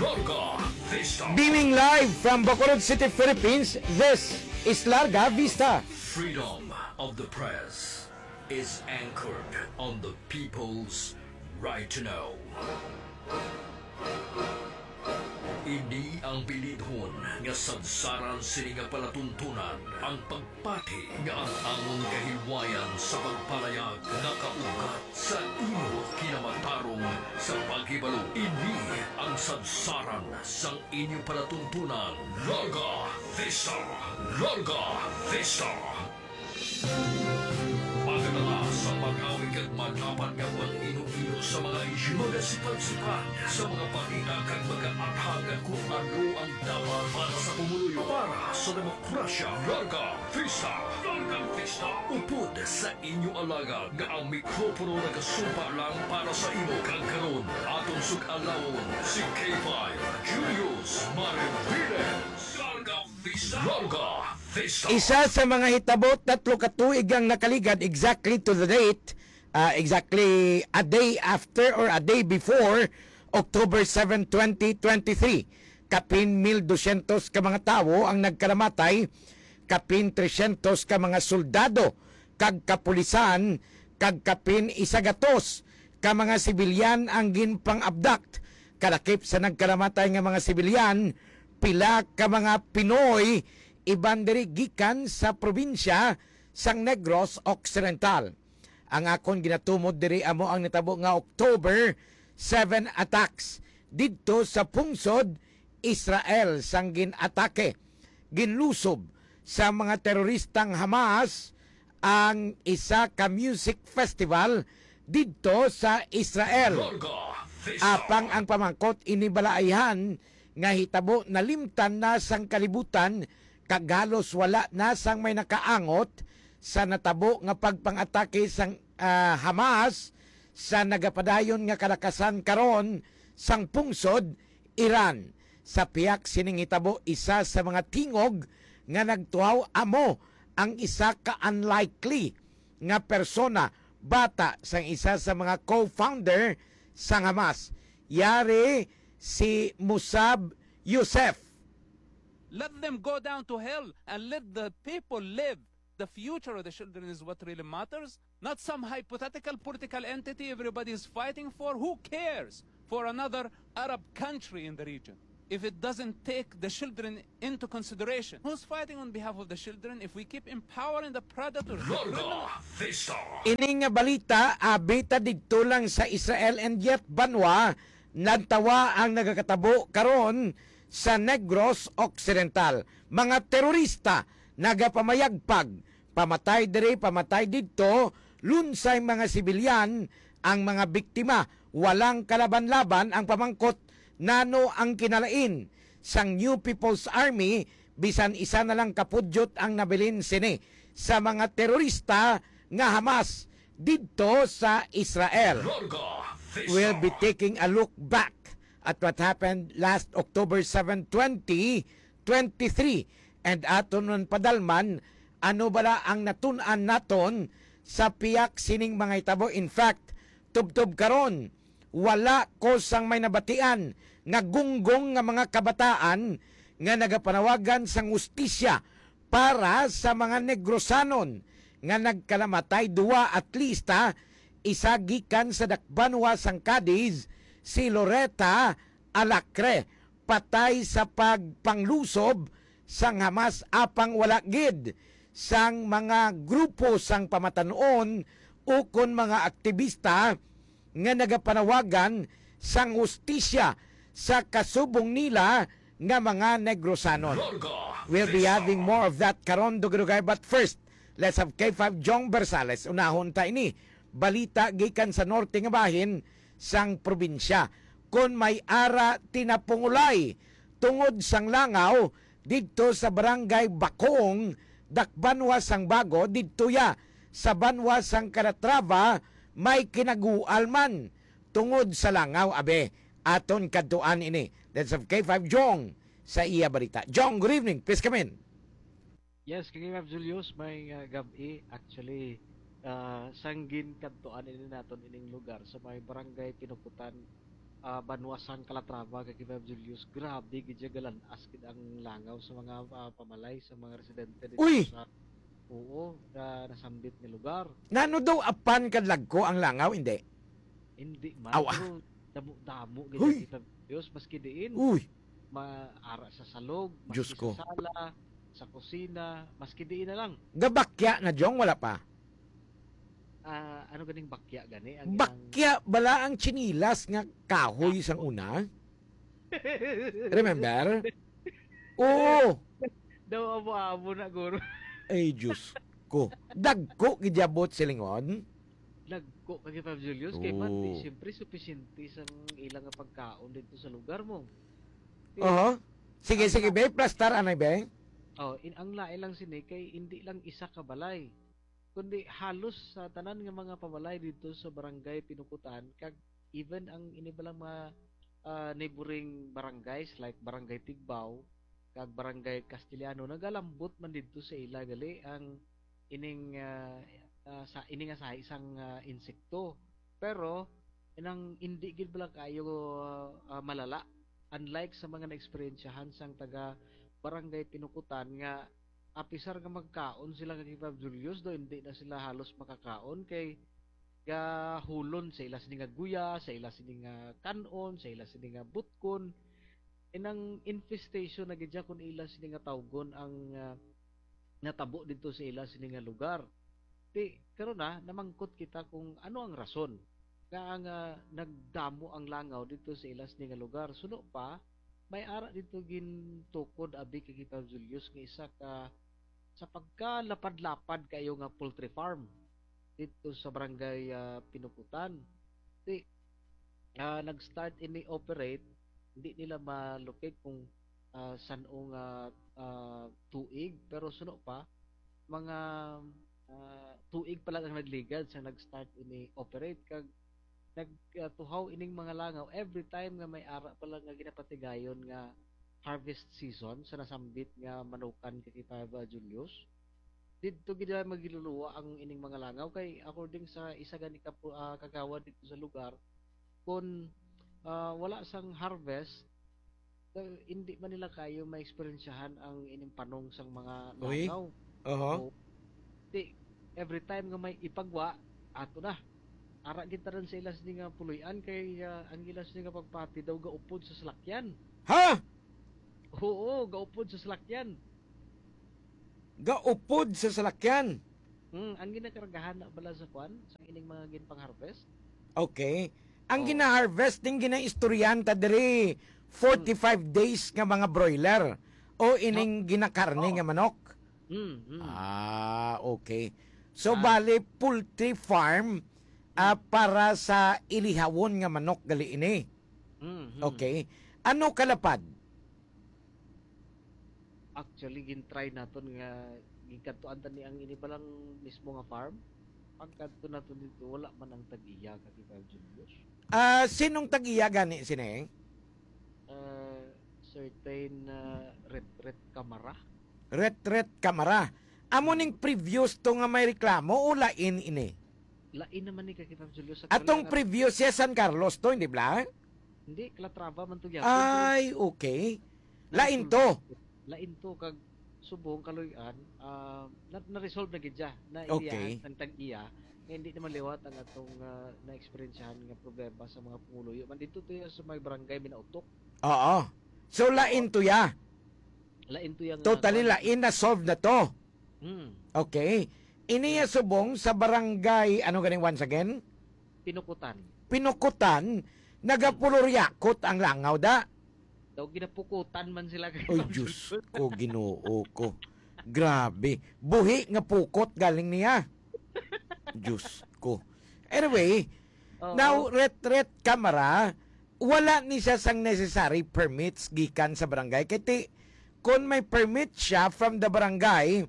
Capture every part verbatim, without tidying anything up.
Larga Vista. Beaming live from Bacolod City, Philippines, this is Larga Vista. Freedom of the press is anchored on the people's right to know. Ini ang bilidhon nga sadsaran sini nga palatuntunan, ang pagpati nga ang amon kahilwayan sa pagpalayag nakaugat sa imo kinamatarong sa paghibalo. Ini ang sadsaran sang inyo palatuntunan. Larga Vista! Larga Vista! Pagkatala sa pagawig kag madapat nga pag-ino-ino sa mga isyu, magasipat-sipat sa mga balita kag mag-athag kung ano ang dapat para sa pumuluyo, para sa demokrasya. Larga Vista! Larga Vista! Upod sa inyo alagad nga ang mikropono nagasumpa lang para sa imo, kag karon aton sug-alawon si K five Julius Mariviles. Larga Vista! Larga Vista! Isa sa mga hitabo, tatlo ka tuig ang nakaligad, exactly to the date, ah, exactly a day after or a day before October seven, twenty twenty-three. Kapin mil dosyentos ka mga tawo ang nagkalamatay, kapin tresyentos ka mga soldado kag kapulisan, kag kapin isa gatos ka mga sibilyan ang ginpang-abduct. Kalakip sa nagkalamatay nga mga sibilyan, pila ka mga Pinoy, iban diri gikan sa probinsya sang Negros Occidental. Ang akon ginatumod diri amo ang nitabo nga October seven attacks didto sa pungsod Israel, sang gin-atake, ginlusob sa mga teroristang Hamas ang isa ka music festival didto sa Israel. Larga Vista. Apang ang pamangkot, ini balaayhan nga hitabo nalimtan na sang kalibutan, kag halos wala na sang may nakaangot sa natabo nga pagpang-atake sang, ah, Hamas sa nagapadayon nga kalakasan karon sang pungsod Iran. Sa pihak sining hitabo, isa sa mga tingog nga nagtuhaw amo ang isa ka unlikely nga persona, bata sang isa sa mga co-founder sang Hamas. Yari si Musab Youssef. Let them go down to hell and let the people live. The future of the children is what really matters, not some hypothetical political entity everybody is fighting for. Who cares for another Arab country in the region if it doesn't take the children into consideration? Who's fighting on behalf of the children if we keep empowering the predators, the Larga criminals? Vista. Ini nga balita, abi ta didto lang sa Israel, and yet banwa nagtawa ang nagakatabo karon sa Negros Occidental. Mga terorista nagapamayagpag, pamatay diri, pamatay didto, lunsay mga sibilyan ang mga biktima. Walang kalaban-laban. Ang pamangkot, nano ang kinalain sang New People's Army, bisan isa na lang ka pudyot ang nabilin sini sa mga terorista nga Hamas didto sa Israel. Larga Vista. We'll be taking a look back at what happened last October seven, twenty twenty-three, and aton man padalman ano bala ang natun-an naton sa pihak sining mga hitabo. In fact, tubtob karon, wala ko sang may nabatian nga gunggong nga mga kabataan nga nagapanawagan sang hustisya para sa mga Negrosanon nga nagkalamatay. Duwa at least, ha, isa gikan sa dakbanwa sang Cadiz, si Loretta Alacre, patay sa pagpanglusob sang Hamas, apang wala gid sang mga grupo sang pamatan-on ukon mga aktibista nga nagapanawagan sang hustisya sa kasubong nila nga mga Negrosanon. Larga Vista. We'll be having more of that karon, dugay-dugay. But first, let's have K five Jong Bersales. Unahon ta ini. Balita gikan sa norte nga bahin sang probinsya. Kon may ara tinapungulay tungod sang langaw didto sa Barangay Bakong, dakbanwa sang Bago, didto ya sa banwa sang Calatrava, may kinagual man tungod sa langaw. Abe, aton kadtuan ini. Let's have K five Jong sa iya balita. Jong, good evening. Please come in. Yes, kay Ma'am Julius, may, uh, gab-i. Actually, uh, sang ginkadtuan ini naton ining lugar sa may Barangay Pinukutan, ah, Banwa San Calatrava, kag Five Julius, grabe gid siya, galan-as gid ang langaw sa mga, ah, pamalay, sa mga residente dito Uy! Sa, oo, na nasambit nga lugar. Nano daw apan kadlagko ang langaw, hindi? Hindi man, Aw, ah. Pero damo-damo gid Huy! Ang Five Julius, maski diin. Uy! Maara sa salog, maski Diyos ko. Sa sala, sa kusina, maski diin na lang. Gabakya na, Jong, wala pa? Ah, ano ganing bakya gani? Ang ilang Bakya bala ang chinilas nga kahoy sang una? Remember? Oo. Daw abo-abo na, guro. Ay, Diyos ko. Dagko gid abot silingon. Dagko kag Five Julius kay man, Oo. Di, siyempre, supisente sang ilang nga pagkaon dito sa lugar mo. Oho. Sige, sige, be. Plastar, anay, be. Oh, in, ang lain lang sini kay hindi lang isa ka balay, kundi halos sa tanan nga mga pabalay dito sa barangay Pinukutan, kag even ang ini balang mga, ah, neighboring barangays like Barangay Tigbao kag Barangay Castellano, nagalambot man didto sa ila gali ang ining, ah, ah, sa ini nga sahi sang, ah, insekto. Pero inang indi gid bala kayo, ah, malala, unlike sa mga naeksperyensyahan sang taga Barangay Pinukutan nga apisar nga magkaon sila nga Five Julius, do hindi na sila halos makakaon kay gahulon sa ila sini nga guya, sa ila sini nga kan-on, sa ila sini nga butkon. Inang infestation na gid siya kung ila sini nga tawgon ang, ah, natabo dito sa ila sini nga lugar. Ti karon na namangkot kita kung ano ang rason nga ang, ah, nagdamo ang langaw dito sa ila sini nga lugar. Suno pa, may ara dito gintukod abi kay Five Julius nga isa ka sa pagkalapad-lapad kayo nga poultry farm dito sa barangay, ah, Pinukutan. Ti, ah, nag-start ini operate, hindi nila malukig kung, ah, san-o nga, ah, tuig, pero suno pa, mga, ah, tuig pa lang ang nagligad sa nag-start ini operate, kag nagtuhaw ining mga langaw every time nga may ara pa lang nga ginapatigayon nga harvest season sa nasambit nga manukan kay Five Julius. Didto gid ay magiluluwa ang ining mga langaw kay according sa isa gani ka pu-, ah, kagawad dito sa lugar, kun, ah, wala sang harvest, eh, hindi man nila kayo maeksperiensyahan ang ining panong sang mga Uy. Langaw. Oho. O, di, every time nga may ipagwa, ato na. Ara gid tanan sa ilas ni nga puloy-an kay, ah, ang ilas ni nga pagpati daw gaupod sa salakyan. Ha? Oo, gaupod sa salakyan. Gaupod sa salakyan. Hmm, ang ginakargahan na bala sa kwan, sa ining mga ginpang-harvest. Okay. Ang Oh. Gina-harvest ning ginaistoryahan ta diri, forty-five days nga mga broiler o ining ginakarne Oo. Nga manok. Hmm, hmm. Ah, okay. So, Ah. Bali, poultry farm, ah, Hmm. Para sa ilihawon nga manok gali ini. Hmm, hmm. Okay. Ano kalapad? Actually, gin-try naton nga ginkadtuan ta ni ang ini pa lang mismo nga farm. Pagkadto naton dito, wala man ang tag-iya ka Five Julius. Ah, sinong tag-iya gani sini? Ah, certain, ah, Ret Ret Camara. Ret Ret Camara. Amo ning previous to nga may reklamo o lain ini? Lain naman ni ka Five Julius. Atong previous siya San Carlos to, hindi bla? Hindi, Calatrava man to gyapon. Ay, okay. Lain to. Lain to kag subong kaluy-an, ah, na, na-resolve na gid siya. Na Okay. Iliyahan ang tag-iya nga hindi naman liwat ang atong, ah, na-eksperyensyahan nga problema sa mga pumuluyo. Man dito to ya sa may barangay Minautok. Oo. So, lain to ya. Lain to ya nga Totally kuwan. Lain na solved na to. Hmm. Okay. Ini ya subong sa barangay, ano ganing once again? Pinukutan. Pinukutan, nagapuloryakot ang langaw da. Daw ginapukutan man sila kay Oy, Diyos ko, Ginoo ko. Grabe. Buhi nga pukot galing niya. Diyos ko. Anyway, Oo. Now, Ret Ret Camara, wala ni siya sang necessary permits gikan sa barangay. Kay ti, kung may permit siya from the barangay,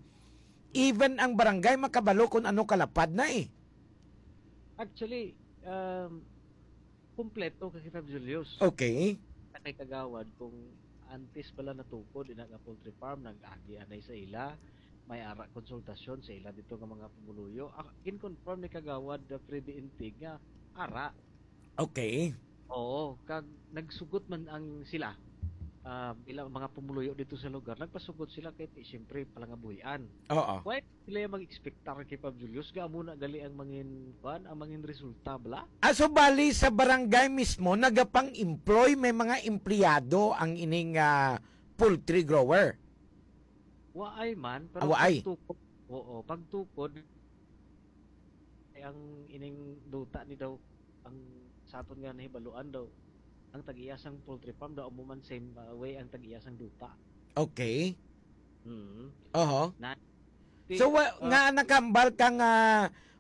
even ang barangay makabalo kung ano kalapad na eh. Actually, um, kumpleto kay Five Julius. Okay. Sa kay Kagawad, kung antes pala natukod, ina nga poultry farm, nag-agi anay sa ila, may ara konsultasyon sa ila dito nga mga pumuluyo. Ah, gin-confirm ni Kagawad, uh, Freddy Intig nga ara. Okay. Oo, kag nagsugot man ang sila, ah, bilang mga pumuluyo dito sa lugar, nagpasugot sila kay ti-, siyempre, palangabuhian. Oo. Why sila yung mag-expectar kay Pab Julius? Nga amo na gali ang mangin, kuan, ang mangin resulta, bala? Ah, so bali sa barangay mismo, nagapang-employ, may mga empleyado ang ining, ah, poultry grower? Waay man, pero Ah, waay. pagtukod, oo, pagtukod, ay ang ining duta ni daw, ang sa aton nga nahibaluan daw, ang tag-iya sang poultry farm daw amo man same, uh, way ang tag-iya sang duta. Okay. Mm. Oho. Na, ti-, So, wa-, uh, nga nakambal ka nga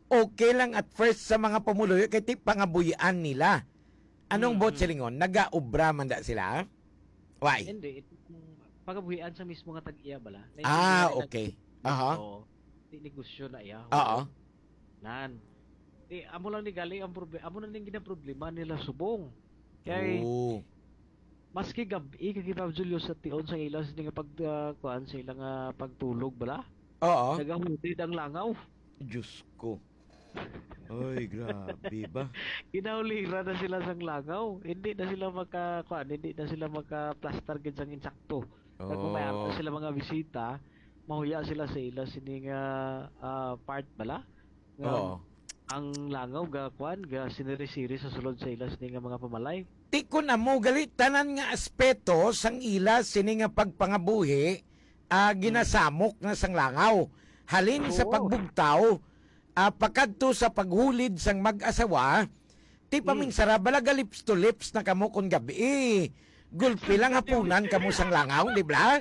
okay lang at first sa mga pumuluyo kay ti pangabuhian nila. Anong Mm. buot silingon? Nagaobra man da sila? Why? Hindi, it-, pagabuhian sa mismo nga tag-iya bala. Ah, Naintindihan nila okay. Aha. Oo. Di negosyo na iya. Oo. Nan. Di, amo lang ni gali ang proble-, amo na ning ginaproblema nila subong. Kay Oo. maski gab-i kay Pab Julio sa tion sa ila sini nga pag, ah, kuan sa ila nga pagtulog bala. Oo. Nagahulid ang langaw. Diyos ko. Oy, grabe ba? Ginauliran na sila sang langaw. Hindi na sila maka, kuan, hindi na sila maka-plastar gid sang insakto. Kag kung may ato Oh. sila mga bisita, mahuya sila sa ila sini nga, ah, part bala. Nga Oo. ang langaw ga, kuan, ga siniri-siri sa sulod sa ila sini nga mga pamalay. Ti kun amo gali tanan nga aspeto sang ila sini nga pagpangabuhi, ah, Mm. ginasamok na sang langaw. Halin sa Oo. pagbugtaw, ah, pakadto sa paghulid sang mag-asawa, ti Mm. paminsara bala ga lips to lips na kamo kon gab-i. Gulpi lang hapunan kamo sang langaw, di ba?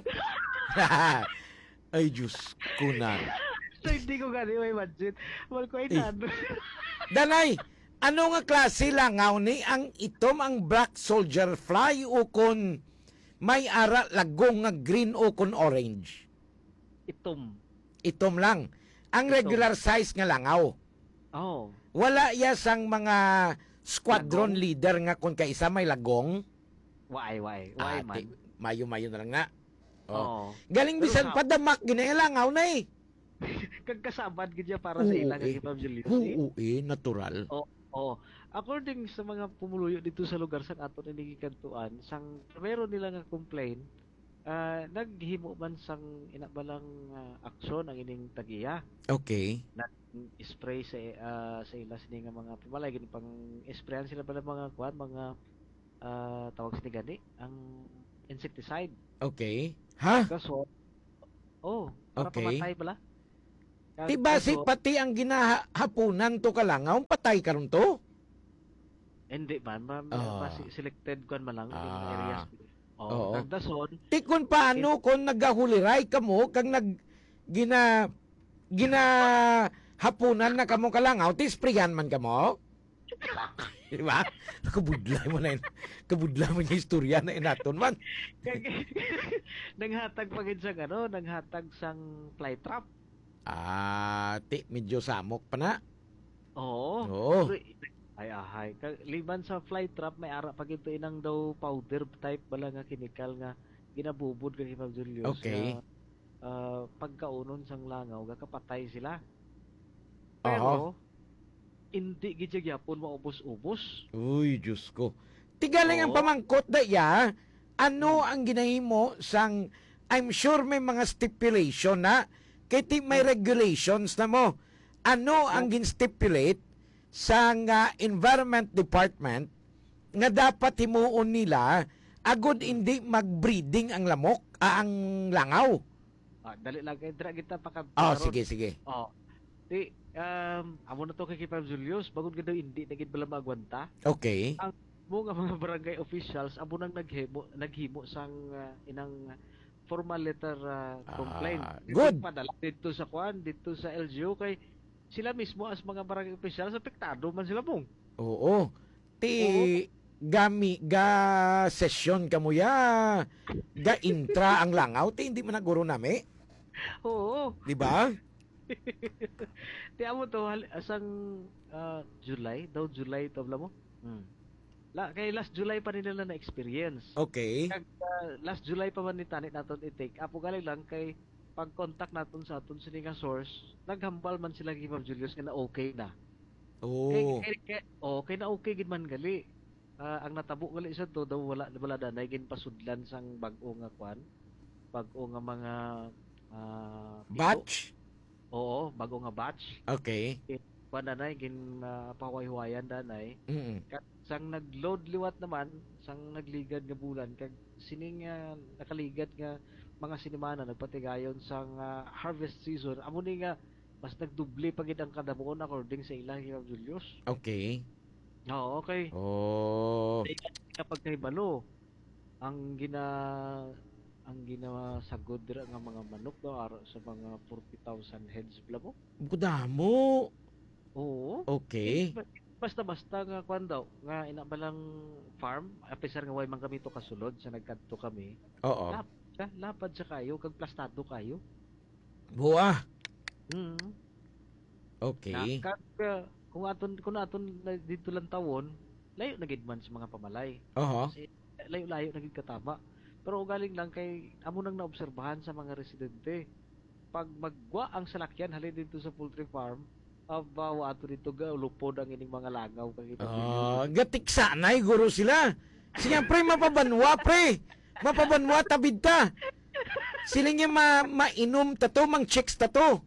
Ay, Diyos ko na. So, hindi ko gani may budget. Wal ko ay Eh. nado. Danay, ano nga klase langaw ni ang itom, ang black soldier fly o kon may ara lagong nga green o kon orange? Itom. Itom lang. Ang Itom. regular size nga langaw. Oh. Wala ya sang mga squadron Lagong? leader nga kon kaisa may lagong? Why, why? Why Ah, man? ti-, mayo-mayo na lang na. Oh. Oo. Galing Pero bisan sa padamak ginalangaw na eh. Kagkasabad gid niya para sa Oo, ila nga eh. Kay Pab Julius, eh. Oo, eh, natural. Oo, oo. According sa mga pumuluyo dito sa lugar sang aton ini gikantuan, sang primero nila nga complaint, ah, naghimo man sang ina ba lang, ah, aksyon ang ining tag-iya. Okay. Nag-spray sa, ah, sa ila sini nga mga pamalay, ginpang-sprayan sila pala mga kuan, mga, ah, tawag sini gani, ang insecticide. Okay. Ha? Kaso, oh, para Okay. pamatay pala. Kag Ti basi kaso pati ang ginahapunan to kalangaw, patay karon to? Hindi man, ma-, ma-, Ah. basi selected kuan man lang yung Ah. areas. Oh, Oo. kag dason, Ti kun paano in- kung nagahuliray kamo kag nag-, gina-, ginahapunan na kamo kalangaw, ti sprayan man kamo? Di ba? Kabudlay mo na yun. Kabudlay mo yung istorya na inaton man. Kag-, nanghatag pa gid sang ano, nanghatag sang fly trap. Ah, ti, medyo samok pa na. Oo. Oo. Pero, ay, ahay. Ka-, liban sa fly trap, may ara pa gid to inang daw powder type bala nga chemical nga ginabubod kay Pab Julius Okay. nga, ah, pagkaunon sang langaw, gakapatay sila. Aha. Pero, hindi gid siya gyapon maubos-ubos. Uy, Diyos ko. Ti galing ang Oo. pamangkot da iya, ano Mm. ang ginahimo sang, I'm sure may mga stipulation na, kay ti may Mm. regulations na mo. Ano ang Oh. gin-stipulate sang, ah, Environment Department nga dapat himuon nila agud Mm. hindi mag-breeding ang lamok, ah, ang langaw? Ah, dali lang kay dira kita paka-, Oh, karon. sige, sige. Oh. Di, um, amo na to kay Kipab Julius, bangod nga daw hindi na gid bala maagwanta. Okay. Ang mo nga mga barangay officials, amo nang naghimo, naghimo sang, ah, inang formal letter, ah, Ah, complaint. Good. Padala dito sa kuan, dito sa L G U kay sila mismo as mga barangay officials, apektado man sila, Bong. Oo. Ti Oo. gami, ga session kamo ya, ga intra ang langaw, ti hindi man naguro nami. Oo. Di ba? Ti amo to, hal-, asang, ah, July, daw July to, alam mo? Hmm. La-, kay last July pa nila na experience. Okay. Kag, ah, last July pa man ni tani naton i-take up. Ugali lang kay pag-contact naton sa aton sini nga source, naghambal man sila kay Ma'am Julius nga na okay na. Oh. Kay, kay, kay, oh, kay na okay gid man gali. Ah, ang natabo gali sa to daw, wala, wala danay ginpasudlan sang bag-o nga kwan, bag-o nga mga, ah, pito. Batch? Oo, bag-o nga batch. Okay. Eh, kwan danay, gin, ah, pahuway-huwayan danay. Mm. Kag sang nag-load liwat naman, sang nagligad nga bulan, kag sining, ah, nakaligad nga mga sinimana nagpatigayon sang, ah, harvest season, amo ni nga mas nagdoble pa gid ang kadamuon according sa ila, Kuya Julius. Okay. Oo, okay. Oh. Kapag kahibalo, ang gina ang ginasagod dira nga mga manok daw aro sa mga forty thousand heads bala mo. Kadamo. Oo. Okay. Ba- Basta-basta nga kwan daw, nga ina ba lang farm, apisar nga way man kami to kasulod sa nagkadto kami. Oo. Lapad siya, lapad siya kayo, kag plastado kayo. Buwa. Mm. Okay. Na, kag, uh, kung aton kung aton na dito lang tawon, layo na gid man sa mga pamalay. Oho. Kasi layo-layo na gid katama. Pero ugaling lang kay amo nang naobserbahan sa mga residente. Pag magwa ang salakyan halin dito sa poultry farm, aba, wa ato dito ga lupod ang ining mga langaw kag iba. Ah, gatiksanay guro sila. Sige, pre, mapabanwa, pre. Mapabanwa, tabid ta. Siling niya ma mainom ta to, mang chicks ta to.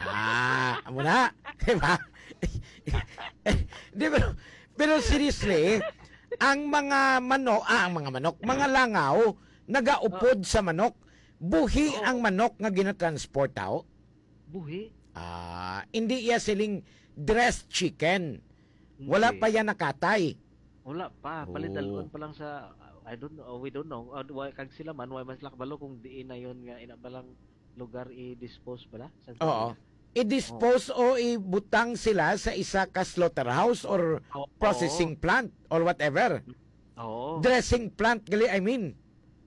Ah, amo na. Diba? Di, pero, pero seriously, ang mga manok, ah, ang mga manok, mga langaw, nagaupod sa manok. Buhi Oo. Ang manok nga ginatransport tao. Buhi. Ah, hindi iya siling dressed chicken. Wala Hindi. Pa yan nakatay. Wala pa. Oo. Palidalon pa lang sa, I don't know, we don't know. Uh, wa- kag sila man, wa man sila kabalo kung diin na yun nga ina ba lang lugar i-dispose bala? Sa Oo. I-dispose o ibutang sila sa isa ka slaughterhouse or Oo. Processing plant or whatever. Oo. Dressing plant gali, I mean.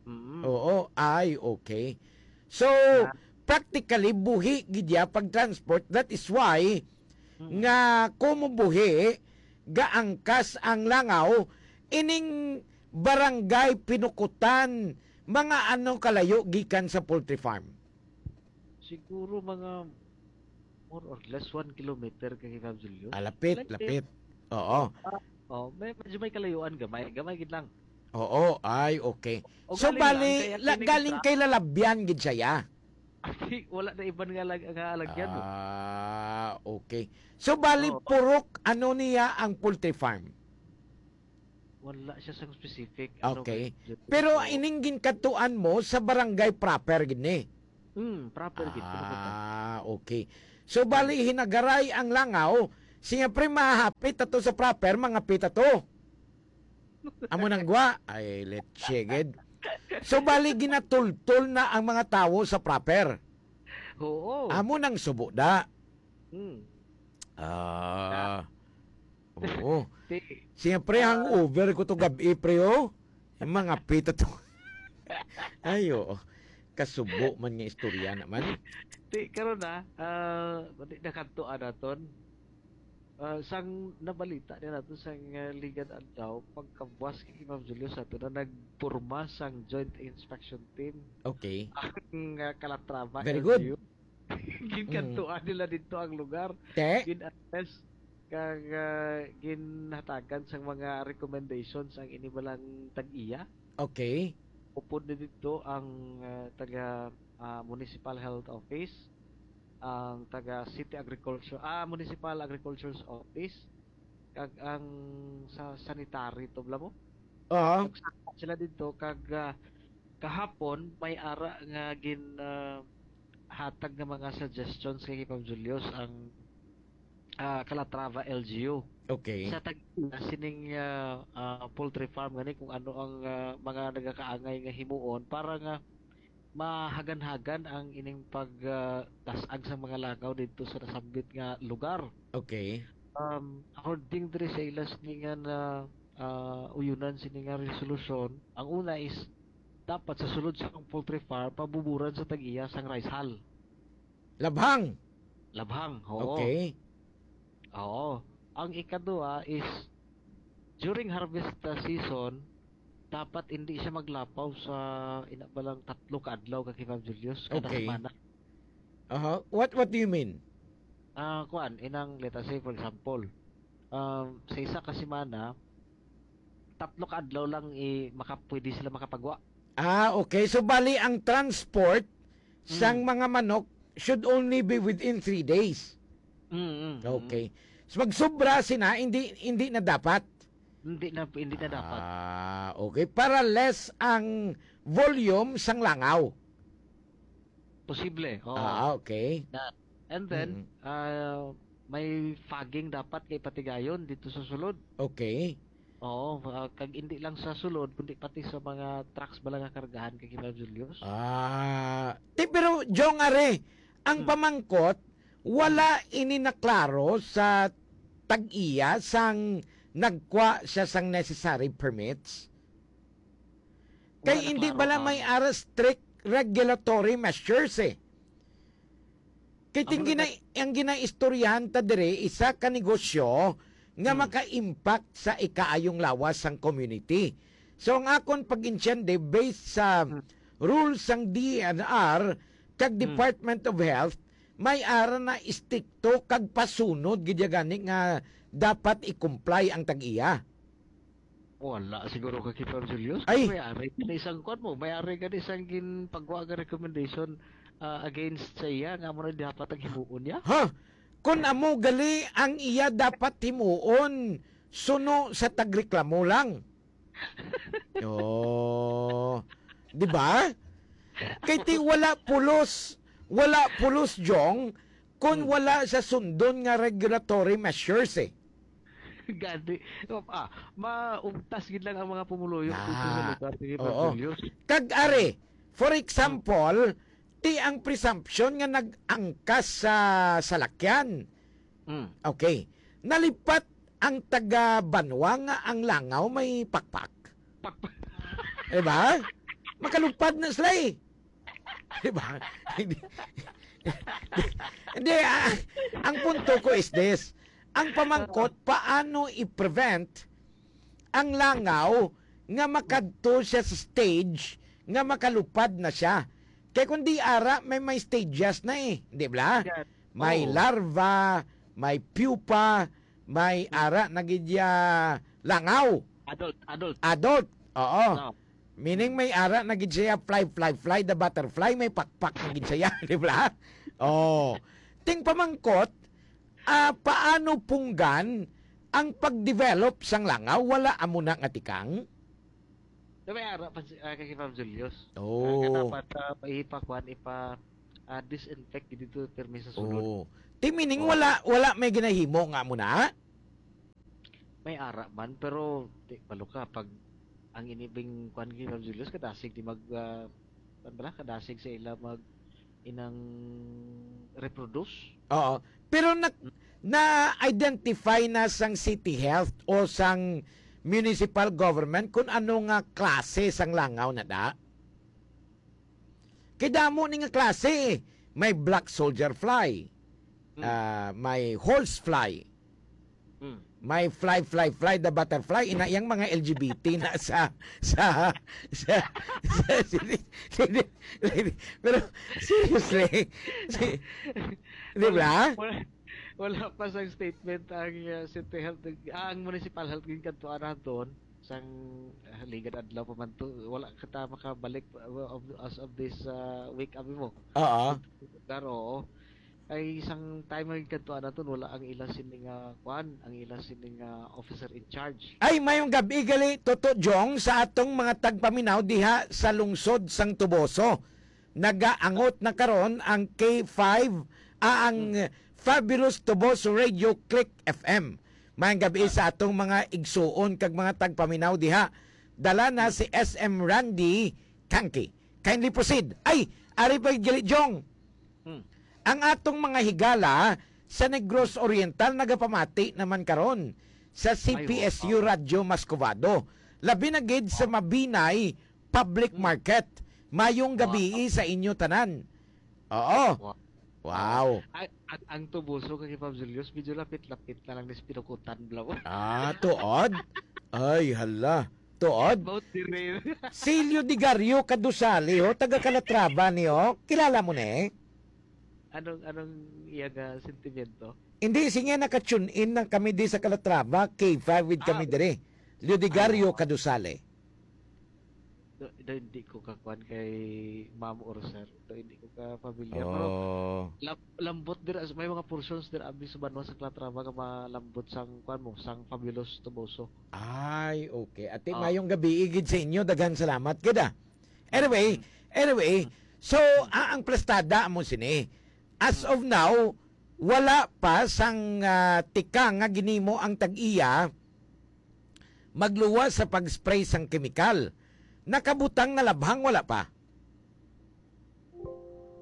Mm. Oo, ay, okay. So, Na- practically, buhi gid ya pag-transport. That is why Mm. nga kumubuhi, gaangkas ang langaw, ining barangay Pinukutan, mga ano kalayo gikan sa poultry farm? Siguro mga more or less one kilometer kay Ma'am Julio. Ah, lapit, Lapit. Lapit. Oo. Oh, may medyo may kalayuan gamay, gamay gid lang. Oo, ay, okay. O So, galing bali, lang, kaya la- kini galing kita- kay Lalabyan gid siya, ya? Ay, wala na iban nga lag nga alagyan mo. Ah, okay. So, bali, Oo. Purok, ano niya ang poultry farm? Wala siya sang specific. Ano Okay. kay- Pero Oo. Ining ginkadtuan mo sa barangay proper gid ni? Hmm, proper gid. Puro ka. Ah, okay. So, bali, hinagaray ang langaw. Siyempre, mahapit ato sa proper, mga pita to. Amo nang gwa. Ay, let's gid. So, bali, ginatultol na ang mga tawo sa proper. Oo. Amo nang subo da. Hmm. Ah. Oo. Ti, Siyempre, hangover ko to gabi, pre, oh. Yung mga pita to. Ay, oo. Kasubo man nga istorya naman. ti, karon na, ah, di nakadto naton. Ah, sang nabalita din nato sang, ah, ligad adlaw, pagkabuas kay Ma'am Julio sa ato na nagporma sang joint inspection team Okay. ang, ah, Calatrava Very good. L G U. Ginkadtuan nila dito ang lugar. Te? Gin-assess kag, ah, ginhatagan sang mga recommendations ang ini balang tag-iya. Okay. Upod na dito ang, ah, taga, ah, Municipal Health Office, ang taga City Agriculture, ah, Municipal Agriculture's Office, kag ang sa sanitary to, bala mo? Oo. Nagsaka sila dito kag, ah, kahapon may ara nga gin, ah, hatag nga mga suggestions kay Ma'am Julius ang, ah, Calatrava L G U. Okay. Sa tag sining, ah, ah, poultry farm gani kung ano ang, ah, mga nagakaangay nga himuon para nga mahagan-hagan ang ining pag, ah, tas-ag sa mga langaw dito sa nasambit nga lugar. Okay. Um, according diri sa ila sini nga na, ah, uyunan sini nga resolusyon, ang una is dapat sa sulod sa poultry farm pabuburan sa tag-iya sang rice hull. Labhang. Labhang, oo. Okay. Oo. Ang ikaduha is during harvest, uh, season, dapat hindi siya maglapaw sa ina ba lang tatlo ka adlaw ka Ma'am Julius kada Okay. semana. Aha. What what do you mean? Ah, kuan, inang, let us say, for example, um, sa isa ka semana, tatlo ka adlaw lang i-, maka-, pwede sila makapagwa. Ah, okay. So, bali, ang transport sang Mm. mga manok should only be within three days. Mm, mm, mm. Okay. So, magsubra sina, hindi, hindi na dapat. Hindi na, hindi na dapat. Ah, okay. Para less ang volume sang langaw. Posible, oo. Ah, okay. Na, and then, Mm. ah, may fogging dapat kay patigayon dito sa sulod. Okay. Oo, ah, kag hindi lang sa sulod, kundi pati sa mga trucks bala nga kargahan kay Kay Julius. Ah, ti, pero, Jong, are, ang Hmm. pamangkot, wala Hmm. ini naklaro sa tag-iya sang nagkwa siya sang necessary permits. Kay Wala hindi naklaro bala ang may ara strict regulatory measures, eh. Kay Amo ting na gina-, ang ginaistoryahan ta diri, isa ka negosyo nga Hmm. maka-impact sa ikaayong lawas sang community. So, ang akon pag-intiende, based sa Hmm. rules sang D E N R kag Hmm. Department of Health, may ara na estrikto kag pasunod gid ya gani nga dapat i-comply ang tag-iya. Wala siguro ka, Kay Julius. Ay! May ari ka na isang kuwan mo. May ari ka na isang ginpagwa nga recommendation, ah, against sa iya, nga amo na dapat ang himuon niya. Ha? Kun amo gali ang iya dapat himuon, suno sa tagreklamo lang. Oh. Di ba? Kay ti wala pulos, wala pulos, Jong, kun Hmm. wala sa sundon nga regulatory measures, eh. Gani. Ah, maugtas gid lang ang mga pumuluyo dito sa Ah, lugar ni oo. Julius. Kag are, for example, ti ang presumption nga nag-angkas sa salakyan. Mm. Okay. Nalipat ang taga banwa nga ang langaw may pakpak. Pakpak. Diba? Makalupad na sila eh. Diba? Hindi. Hindi, ah, ang punto ko is this. Ang pamangkot, paano i-prevent ang langaw nga makadto siya sa stage nga makalupad na siya? Kay kung di ara, may, may stages na eh. Di ba? Yes. May Oo. larva, may pupa, may Mm. ara na gid ya langaw. Adult, adult. Adult. Oo. No. Meaning may ara na gid siya, fly, fly, fly, the butterfly, may pakpak na gid siya, di ba? Oh. Ting pamangkot, ah, paano punggan ang pag-develop sang langaw? Wala amo na nga tikang? Na may ara pa si, ah, kay Ma'am Julius. Oh. Ah, nga dapat, ah, ipakuan, ipa, ah, disinfect dito, pirmi sa sulod. Oh. Ti meaning Oh. wala, wala may ginahimo nga amo na? May ara man, pero di, balo ka, pag ang inibing kuan kay Ma'am Julius, kadasig di mag, ah, kuan bala, kadasig sa ila mag inang reproduce. Oo. Pero na, na-identify na sang city health o sang municipal government kung ano nga klase sang langaw na da? Kay damo ni nga klase eh. May black soldier fly, Hmm. ah, may horse fly, Hmm. may fly, fly, fly, the butterfly, ina yang mga L G B T na sa, sa, sa, sa, sa, pero seriously, si, di ba? Wala, wala pa sang statement ang, uh, city health, ah, ang municipal health, ginkadtuan naton sang, ah, ligad adlaw pa man to, wala kita makabalik, uh, of, as of this, uh, week, abi mo. Oo. Pero, oo. Ay, isang time nga ginkadtuan naton, wala ang ila sini nga, kuan, ang ila sini nga officer in charge. Ay, mayong gabi gali, Toto Jong, sa atong mga tagpaminaw diha sa lungsod sang Toboso. Nagaangot na karon ang K five, ah, ang Hmm. Fabulous Toboso Radio Click F M. Mayong gabi Ah. sa atong mga igsuon kag mga tagpaminaw diha. Dala na Hmm. si S M Randy Kangki. Kindly proceed. Ay, ari pa gali, Jong. Hmm. Ang atong mga higala sa Negros Oriental nagapamati naman karon sa Ay, C P S U wow. Radyo Mascovado. Labi na gid sa Wow. Mabinay Public Hmm. Market. Mayong Wow. gabi sa inyo tanan. Oo. Wow. Wow. Ay, ang, ang Toboso kay Pab Julius, medyo lapit-lapit na lang ni sa Pinukutan, bla. Ah, tuod? Ay, hala. Tuod? About the rain. Si Leo Digario Kadusali, ho, taga Calatrava ni, ho. Kilala mo ni? Anong, anong iya nga sentimento? Hindi, sige, naka-tune in lang kami di sa Calatrava, K five with kami Ah. diri. Leodegario Ano? Cadusale. Do, do, hindi ko kakuan kay ma'am or sir. Do, hindi ko ka familiar. Pero Oh. lam-, lambot dira, may mga portions dira abi sa banwa sa Calatrava nga malambot sang kuan mo, sang Fabulous Toboso. Ay, okay. Ate, Ah. mayong gabi gid sa inyo. Daghan salamat gid, ah. Anyway, Mm. anyway, Mm. so, ah, ang plastada mo sini. As Mm. of now, wala pa sang, ah, tikang nga ginimo ang tag-iya magluwas sa pag-spray sang kemikal. Nakabutang na labhang, wala pa?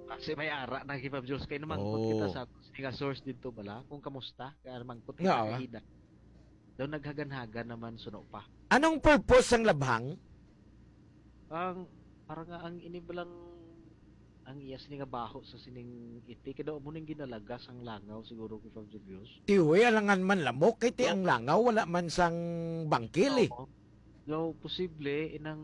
Kasi may ara na, Kay Fab Jules, kay namangkot Oh. kita sa aton sini nga source dito bala, kung kamusta, kaya namangkot kita Nga, ah. kaina. Daw naghagan-hagan naman suno pa. Anong purpose sang labhang? Ang, para nga ang ini balang, ang iya sini nga baho sa sining iti, kay daw mo ning ginalaga sang langaw siguro, Kay Fab Julius. Tiwi, alangan man lamok, kay ti Oh. ang langaw, wala man sang bangkil, eh. Oo. Daw posible, inang,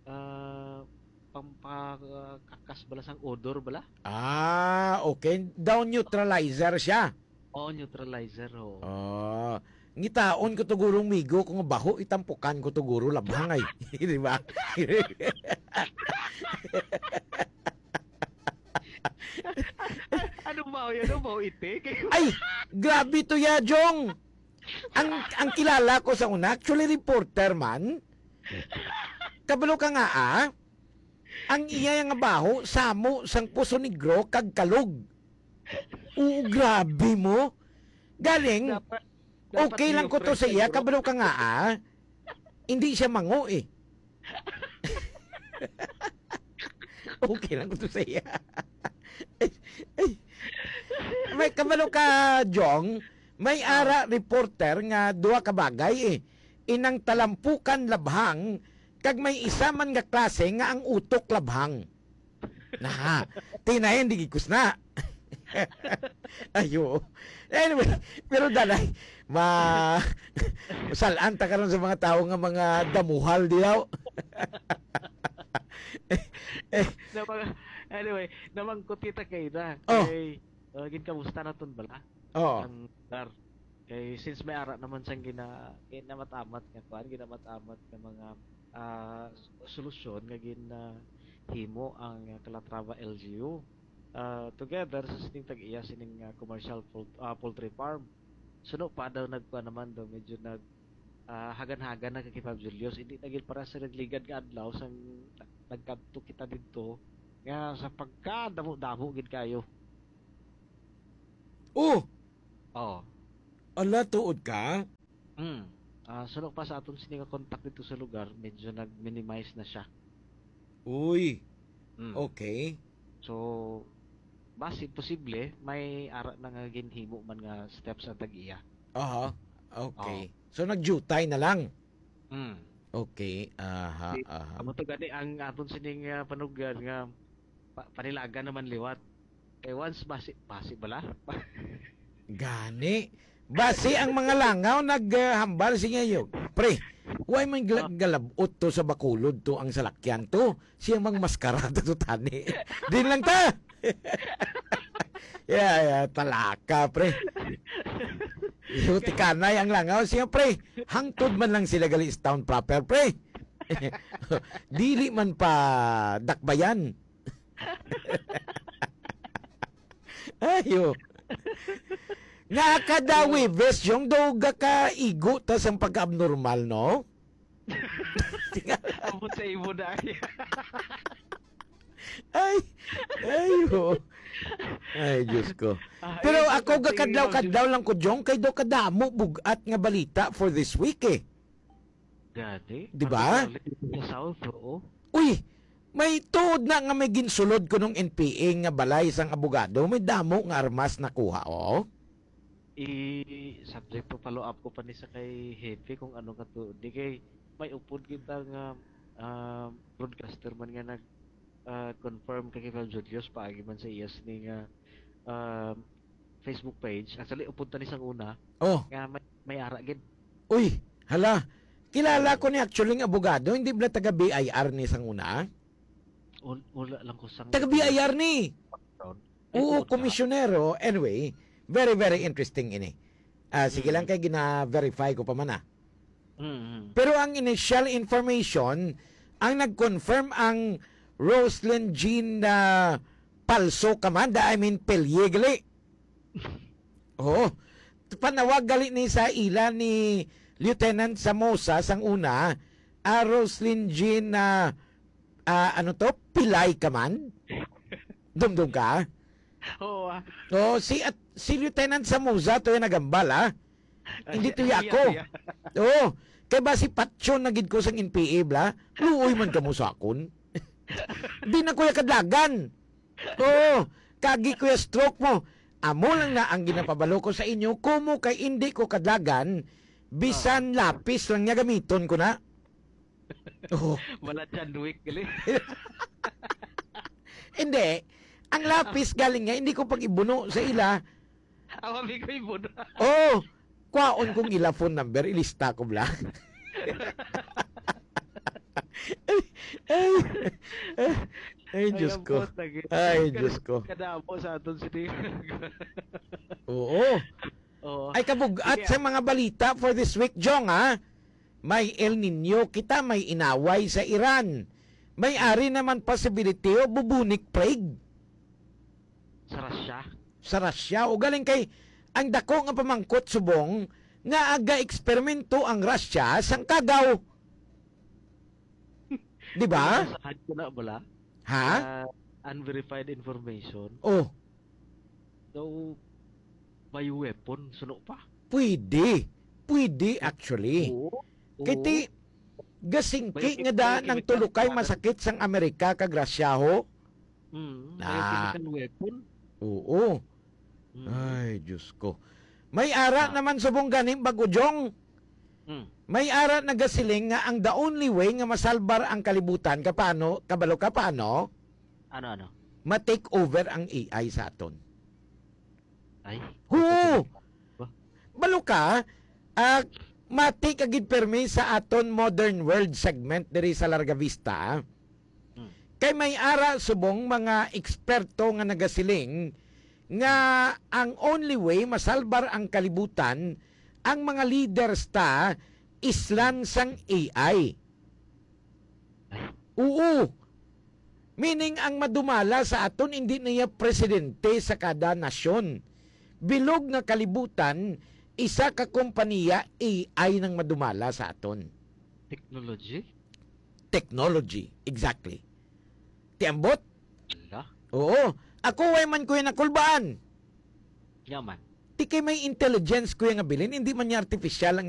ah, pampakakas bala sang odor bala? Ah, okay. Daw neutralizer siya. Oo, neutralizer, oo. Ah, ngitaon ko to guro, migo, kung baho, itampukan ko to guro, labhang ay. Di ba? Ano ba yun? Ano ba iti? Ay, grabe to ya, Jong. Ang, ang kilala ko sa una, actually reporter man. Kabalo ka nga, ah? Ang iya nga baho, samo sang Poso Negro kag Kalog. Oo, grabe mo. Galing, Dapat, dapat okay lang ko to sa iya, neoprene, bro. Kabalo ka nga, ah. Hindi siya mango, eh. Okay lang ko to sa iya. Ay, ay. May kabalo ka, Jong. May Ah. ara reporter nga duha ka bagay, eh. Inang talampukan labhang, kag may isa man nga klase nga ang utok labhang. Na, tinayan di gikus na. Ayo. Anyway, pero danay, ma-, masalan ta karon sa mga tawo nga mga damuhal diyaw. Eh, Na mga, anyway, namangkot kita kay na. Oh. Kay, uh, ginkamusta naton bala? Oh. Ang lugar. Kay since may ara naman sang gina-, ginamat-amat nga kuan, ginamat-amat nga mga, ah, s-, solusyon nga gin, ah, himo ang, ah, Calatrava L G U. Ah, together sa sining tag-iya sining, ah, commercial poult-, ah, poultry farm. Suno pa daw nagkuan naman daw, medyo nag, ah, hagan-hagan na kay Fab Julius. Hindi na gid para sa nagligad nga adlaw sang nag-, nagkadto kita didto nga sa pagkadamo-damo gid kayo. Oh! Oh. Ala, tuod ka? Hmm. Ah, suno pa sa aton sini nga contact dito sa lugar, medyo nag-minimize na siya. Uy. Hmm. Okay. So, basi posible, may ara na nga ginhimo man nga steps ang tag-iya. Aha. Okay. Oh. So, nagjutay na lang? Hmm. Okay. Aha, Di, aha. amo to gani ang aton sining, ah, panugyan nga pa-, panilagan naman liwat. Kay once basi, basi bala? Gani. Basi ang mga langaw naghambal sa inyo, "Pre, why man gla-, Ah. galabot to sa Bacolod to ang salakyan to? Siya mang maskara to, to tani." Din lang ta. Yeah, yeah, talaka, pre. Yung tikanay ang langaw, siya, pre. Hangtod man lang sila gali sa town proper, pre. Dili man pa dakbayan. Ayo. Nga kada Webes, yung daw ga ka igo ta sang pagka-abnormal, no? Abot sa imo na. Ay, ayo. Ay, Diyos ko. Ah, Pero ayun, ako, sa tingin gakadlaw-kadlaw lang ko, Jong, kay daw kadamo bugat nga balita for this week, eh. Gani? Di ba? Particularly dito sa South, oo. Uy, may tuod na nga may ginsulod ko nung N P A nga balay sang abogado, may damo nga armas nakuha, oh. I-subject to follow up ko pa ni sa kay Hepe kung ano ka to. Di kay may upod kita nga, ah, broadcaster man nga nag, ah, confirm kay Fab Julius paagi man sa iyas ni nga, ah, Facebook page. Actually, upod ta ni sang una Oh. nga may, may ara gid. Uy, hala. Kilala ko ni actually nga abogado, hindi ba taga B I R ni sang una? Ul-, wala lang ko sang Taga B I R ni. Background. Ay, Oo, oo, ta. Komisyonero. Anyway, very, very interesting ini. Ah, sige Mm. lang kay gina-verify ko pa man, ah. Mm-hmm. Pero ang initial information, ang nag-confirm ang Roslyn Jean na palso ka man, da-, I mean, pelye gali. Oo. Panawag gali ni sa ila ni Lieutenant Samosa sang una, ah, Roslyn Jean na, ah, ano to? Pilay ka man? Dumdum ka? Oo, ah. Oo, si, at, si Lieutenant Samosa to yung nagambal, ah. Ah, Hindi siya, to ya siya, ako. siya. Oo. Kay ba si Patyon na gid ko sang N P A, bla? Luoy man kamo sa akon. Di na ko ya kadlagan. Oo. Kagi ko ya stroke mo. Amo lang na ang ginapabalo ko sa inyo, kumo kay indi ko kadlagan, bisan Ah. lapis lang niya gamiton ko na. Oo. Wala John Wick, gali. Hindi. Ang lapis galing nga, hindi ko pag-ibuno sa ila. Awa, may ko ibuno. Oh, kwaon kong ila phone number, ilista ko bla. Ay, ay, ay, ay, Diyos ko. Ay, Diyos ko. Kadamo sa aton sini. Oo. Oo. Ay, kabug-at Sige, sa ah. mga balita for this week, Jong, ha? May El Nino kita, may inaway sa Iran. May ari naman possibility o bubonic plague. Sa Russia? Sa Russia. O galing kay, ang dako nga pamangkot subong nga aga-eksperimento ang Russia sang kagaw. Di ba? Ang nasahan ko na, bala? Ha? Ah, unverified information. Oh. Daw, bioweapon, suno pa. Pwede. Pwede, actually. Oo. Kay Oo. ti, gasingki May nga daan ang may tulukay masakit sang Amerika kag Russia, ho? Mm, may Ah. chemical weapon. Oo. Mm. Ay, Diyos ko. May ara Ah. naman subong gani, Bago Jong. Mm. May ara nagasiling nga ang the only way nga masalbar ang kalibutan, kapano, kabalo ka paano? Ano, ano? Ma-take over ang A I sa aton. Ay, Oo. Ba? Balo ka, ah, mati ka gid permi sa aton modern world segment diri sa Larga Vista, ah. Hmm. Kay may ara subong mga eksperto nga nagasiling nga ang only way masalbar ang kalibutan, ang mga leaders ta, islan sang A I. Ay. Oo. Meaning, ang madumala sa aton, hindi na iya presidente sa kada nasyon. Bilog nga kalibutan, isa ka kompanya, A I nang madumala sa aton. Technology? Technology, exactly. Ti ambot? Ala. Oo. Ako, way man ko yung nakulbaan. Yaman. Ti kay may intelligence ko yung nga bilin, hindi man niya artificial ang